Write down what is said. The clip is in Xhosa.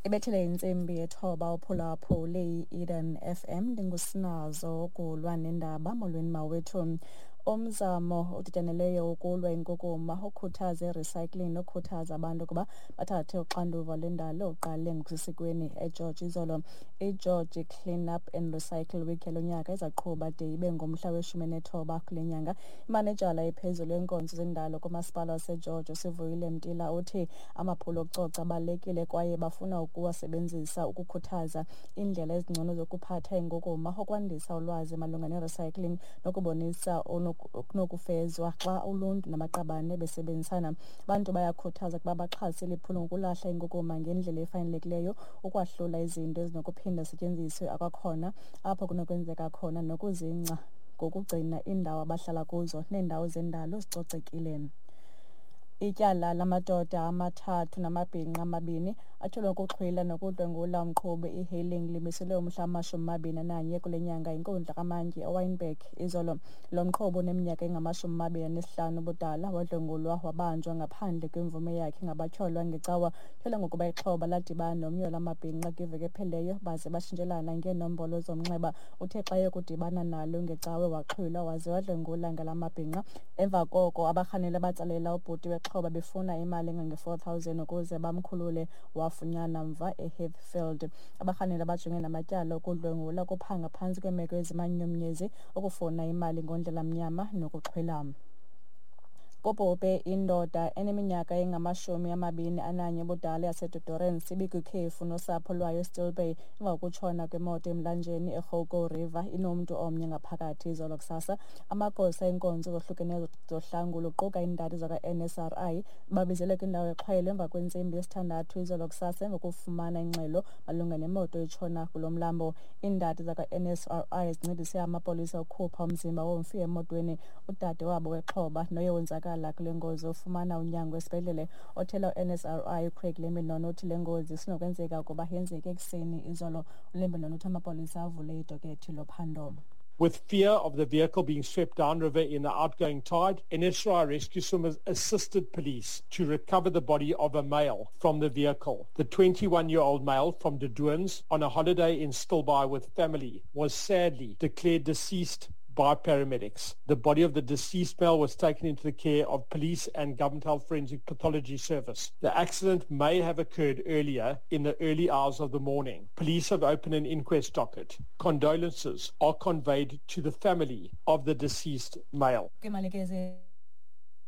Ibethile intsimbi yethoba uphulaphule i-Eden FM. Ndingusinazo ukulwa nendaba. Molweni mawethu. Umzamo odityaneleyo wokulwa inkukuma, ukhuthaza i-recycling nokhuthaza abantu ukuba bathathe uxanduva lwendalo uqale ngokusesikweni eGeorge izolo. IGeorge Clean Up and Recycle Week yalo nyaka izaqhuba de ibe ngumhla we-19 kule nyanga. Imanejala ephezulu yenkonzo zendalo kumasipala waseGeorge, uSivuyile Mtila, uthi amaphulo okucoca abalulekile kwaye bafuna ukuwasebenzisa ukukhuthaza iindlela ezingcono zokuphatha inkukuma, ukwandisa ulwazi malunga ne-recycling nokubonisa okunokufezwa xa uluntu namaqabane besebenzisana. Abantu bayakhuthaza ukuba baxhase liphulo ngokulahla inkukuma ngendlela efanelekileyo, ukwahlula izinto ezinokuphinda zisetyenziswe akwakhona apho kunokwenzeka khona, nokuzingca ngokugcina iindawo abahlala kuzo neendawo zendalo zicocekile. Ityala lamadoda amathathu namabhinqa amabini atyholwa ngokuxhwila nokudlwengula umqhubi e-hailing limiselwe umhla wama-21 kule nyanga yinkundla kamantyi eWynberg izolo. Lo mqhubi uneminyaka engama-25 ubudala wadlwengulwa wabanjwa ngaphandle kwemvume yakhe ngabatyholwa ngeCawa. Tyholwa ngokuba ixhoba ladibana nomnye wala mabhinqa kwiveki ephelileyo baze batshintshelana ngeenombolo zomnxeba. Uthe xa eyokudibana nalo ngeCawe waxhwilwa waze wadlwengula ngala mabhinqa. Emva koko abarhanelwa batsalela ubhuti wexhoba befuna imali engange-4 000 ukuze bamkhulule, wafunyanwa mva eHeathfield. Abarhanelwa bajongene namatyala okudlwengula, ukuphanga phantsi kweemeko ezimanyumnyezi, ukufuna imali ngondlela mnyama nokuxhwila. Kubhubhe indoda eneminyaka engama-21 ubudala yaseDe Doorns ibikwikhefu nosapho lwayo eStill Bay emva kokutshona kwemoto emlanjeni eGoukou River inomntu omnye ngaphakathi izolo kusasa. Amagosa eenkonzo zohlukeneyo zohlangulo quka iindadi zakwa-NSRI babizelwe kwindawo exhwayelo emva kwentsimbi yesithandathu izolo kusasa emva kokufumana ingxelo malunga nemoto etshona kulo mlambo. Iindadi zakwa-NSRI zincedise amapolisa ukukhupha umzimba womfi emotweni. Udade wabo wexhoba noye wonzakala kule ngozi ufumana unyango esibhedlele. Othela u-NSRI uCraig Lembinon uthi le ngozi isenokwenzeka ukuba yenzeke ekuseni izolo. ULembinon uthi amapolisa avule idokethi lophando. With fear of the vehicle being swept downriver in the outgoing tide, NSRI rescue swimmers assisted police to recover the body of a male from the vehicle. The 21-year-old male from De Doorns, on a holiday in Stilbaai with family, was sadly declared deceased by paramedics. The body of the deceased male was taken into the care of police and Government Health Forensic Pathology Service. The accident may have occurred earlier in the early hours of the morning. Police have opened an inquest docket. Condolences are conveyed to the family of the deceased male. Kwimalike.